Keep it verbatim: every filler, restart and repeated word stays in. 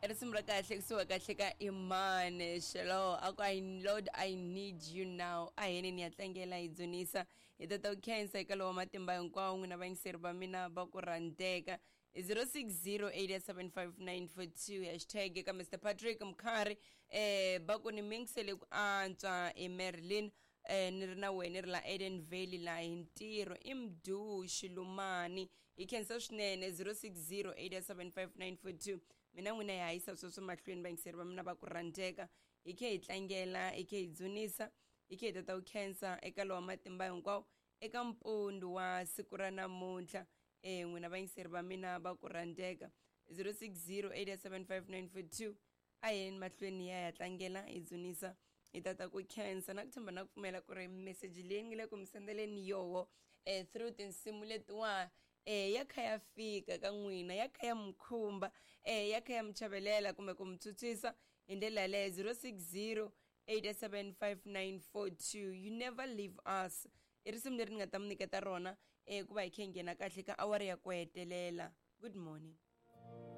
Risimu ra kahle kusuka kahle ka Imane Shelo a ku I Lord I need you now. A heni ni ya tlangela hi dzunisa hi tata u khensa eka lowa matimba hinkwawo n'wina vayingiseri va mina va ku rhandzeka. zero six zero eight seven five nine four two hashtag eka Mister Patrick Mkhari eh va ku ni mingisele ku antswa e Merlin eh ni ri na wena ri la Eden Valley la hi ntirho i Mdu Xilumani hi khensa swinene zero six zero eight seven five nine four two. Mina n'wina hi hanyisa sweswo mahlweni vayingiseri va mina va ku rhandzeka hi khe hi tlangela hi khe hi dzunisa hi khe hi tata u khensa eka lowa matimba hinkwawo eka mpundu wa siku ra namuntlha eh n'wina vayingiseri va mina va ku rhandzeka zero six zero eight seven five nine four two. A yeni mahlweni ya ya tlangela hi dzunisa hi tata ku khensa na ku tshemba na ku pfumela ku ri meseji leyi ngi le ku mi sendeleni yoho eh through tinsimu letiwa eh ya kha ya fika ka n'wina ya kha ya mkhumba eh ya kha ya mi chavelela kumbe ku mi tshutswisa hi ndlela yaleyo zero six zero eight seven five nine four two. You never leave us i risimu leri ni nga ta mi nyiketa rona eh ku va hi khe hi nghena kahle ka awara ya ku hetelela. Good morning.